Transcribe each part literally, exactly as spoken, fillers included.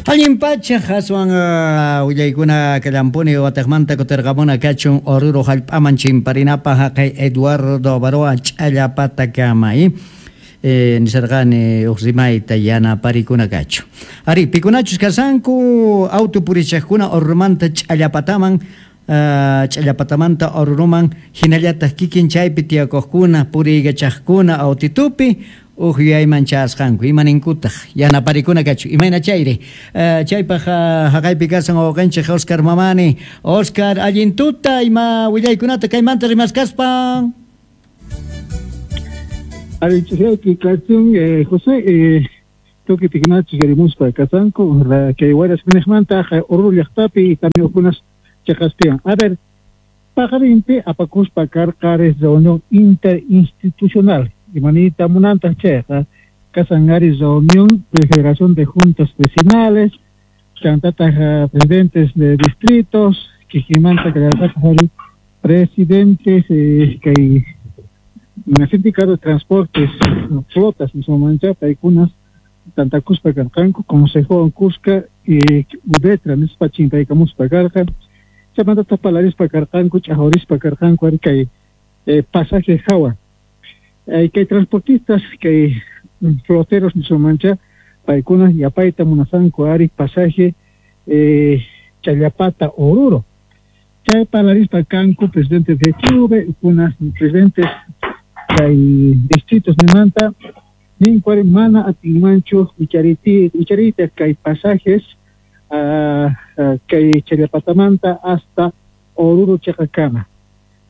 Allin pacha aswan uh, willaykuna kallampuni wataqmanta kutirqamuna kachun Oruro hallp'aman chimparinapaq haqay Eduardo Abaroa ch'allapatakama eh, nisarqani uq rimayta yanaparikuna kachu. Ari, pikunachus kasanku auto purichaqkuna Orurumanta ch'allapataman uh, ch'allapatamanta Oruruman hinallataq kikin chaypi tiyakuqkuna puriykachaqkuna autitupi uq yuyayman chayasqanku imaninkutaq yanaparikuna kachu imayna chayri uh, chaypaq uh, haqaypi kasan wawqinchik Oscar Mamani. Oscar, allin tuta ima willaykunata kaymanta rimaskaspa. Arichiyaki kachun eh, José eh, tuki pikunachus yarimuspa kasanku kay wayras minejmanta Oruro llaqtapi tamiokunas chaqaspiwan. A ver, paqarinpi apakuspa karqares reunión interinstitucional imanita munantaq chayqa kasan ari reunión de Federación de Juntas Vecinales chantataq presidentes de distritos kikimanta kallarqataq ari presidentes eh, kay sindicato de transportes flotas mismomancha paykunas tantakuspa karqanku consejo Cusca y udetra nispa chimpaykamuspa karqa chaymantata palarispa karqanku ch'ajurispa karqanku ari kay eh, pasaje hawa eh, kay transportistas kay floteros mismomancha paykunas yapayta munasanku ari pasaje eh, Challapata Oruro chay palarispa kanku presidentes de F Q V kunas presidentes kay distritos nimanta ninkuari mana atinmanchu wichariti wicharita kay pasajes uh, uh, kay Challapatamanta hasta Oruro chaqakama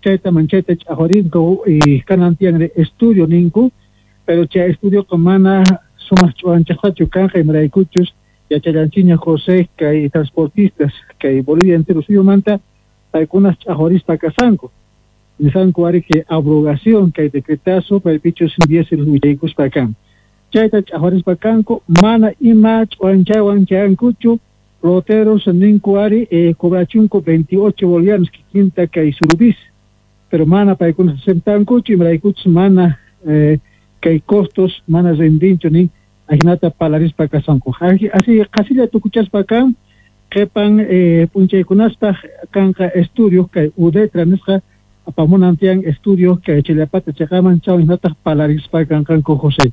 chayta manchayta ch'ajurinku y kanan tiyan estudio ninku pero chay estudio mana sumaq ch'uwanchaqtachu kanqa imaraykuchus yachallanchiña José kay transportistas kay Bolivia entero suyumanta paykunas ch'ajurispa kasanku nisanku ari que abrogación kay decretazo paypichus diésel willaykuspa kan chayta ch'ajurispa kanku mana ima ch'uwanchaywan chayankuchu floteros ninku ari eh, cobrachunku veintiocho bolivianos kikinta kay surubis pero mana paykunas aceptankuchu imaraykuchus mana eh, kay costos mana rendinchu nin ajinata palarispa kasanku así qasilla tukuchaspa kan qhipan eh, p'unchaykunaspaq kanqa estudio kay udetra nisqa apamunan tiyan estudio kay Challapata chaqaman chawan hinataq palarispa kanqanku José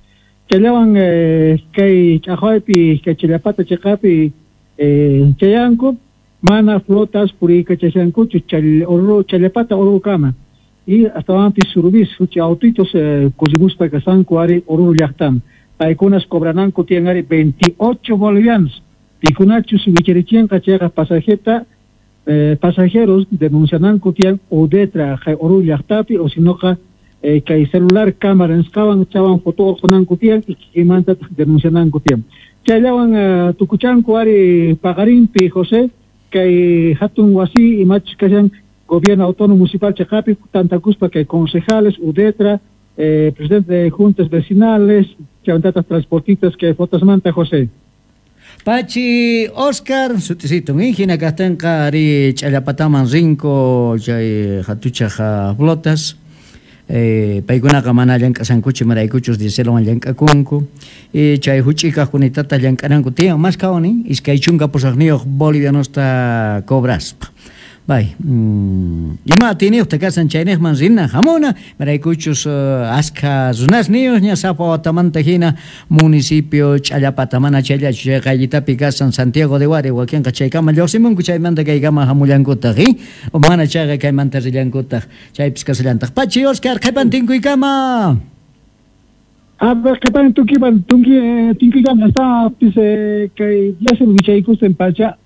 chayllawan eh, kay ch'aqwaypi kay Challapata chaqapi eh, chayanku mana flotas puriykachashankuchu chall Oruro Challapata Orurokama y astawanpis surubis huchi autitos eh, kusimuspa kasanku ari Oruro llaqtaman paykunas cobrananku tiyan ari veintiocho bolivianos pikunachus wicharichinqa chayqa pasajeta eh, pasajeros denunciananku tiyan udetra kay Oruro llaqtapi o sinoqa eh, kay celular cámara nisqawan chawan foto urqunanku tiyan y kikinmantataq denunciananku tiyan chayllawan uh, tukuchanku ari paqarinpi José kay hatun wasi imachus kashan gobierno autónomo municipal chaqapi tantakuspa kay concejales udetra eh, presidente de juntas vecinales chaymantataq transportistas kay flotasmanta José. Pachi Oscar sutisito hina kaqtinqa ari ch'allapataman rinku chay hatuchaq flotas eh, paykunaqa mana llank'asankuchu imaraykuchus dieselwan llank'akunku y chay huch'ikaqkunitata llank'ananku tiyan mas kawani iskay chunka pusaqniyuq bolivianosta cobraspa bay mm, ima atiniyuqta kasan chayniqman rina hamuna imaraykuchus uh, askha runasniyuq ña sapa watamanta hina municipio Ch'allapata mana chayllachu chay qayllitapi kasan Santiago de Huari wakinqa chaykama lluqsimunku chaymanta kaykama hamullankutaq i mana chayqa kaymanta rillankutaq chaypis kasallantaq. Pachi Oscar, qhipan tinkuykama. A ver, qhipan tunkiman tunki tinkuykama hasta pis kay diésel wichaykusten pacha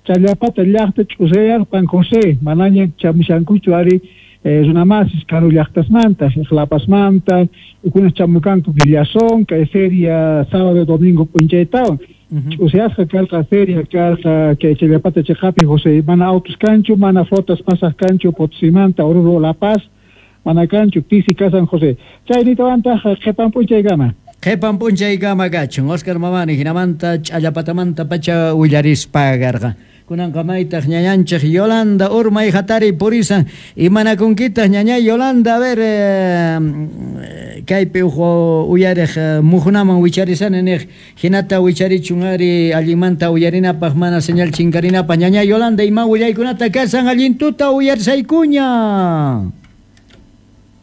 Challapata llaqta ch'usayarpan José manaña chamushankuchu ari eh, runamasis karu llaqtasmanta La Pazmanta ukunas chamukanku Villazón kay feria sábado domingo p'unchaytawan ch'usayasqa karqa feria karqa kay Challapata chaqapi José mana autos kanchu mana flotas pasaq kanchu Potosimanta Oruro La Paz mana kanchu pisi kasan José chaynitawantaq qhipan p'unchaykama. Qhipan p'unchaykama kachun Oscar Mamani hinamanta ch'allapatamanta pacha willarispa karqa. Kunanqa maytaq ñañanchik Yolanda urmay hatari purisan imanakunkitaq ñañay Yolanda? A ver, eh, kaypi uj uyariq mujunaman wicharisani niq hinata wicharichun ari allinmanta uyarinapaq mana señal chinkarinapaq. Ñañay Yolanda, ima willaykunata kasan allintuta uyarisaykuña.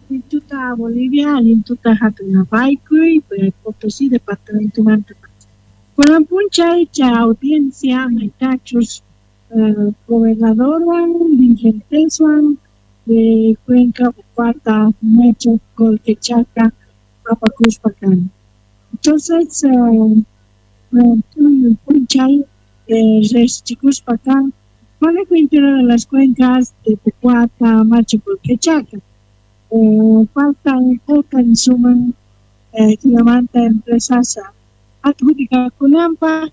Allintuta Bolivia, allintuta hatunapaykuy, Potosí departamento manta. Kunan p'unchay chay audiencia maytachus Uh, gobernadorwan, dirigenteswan de Cuenca, Upata, Mecho, Colquechaca, apakuspa kan. Entonces, uh, p'unchay eh, resichikuspa kan manejo interior de las cuencas de Pucuata, Macho, Colquechaca. Eh, faltan ocan suman eh, jinamanta empresas adjudicakunanpaj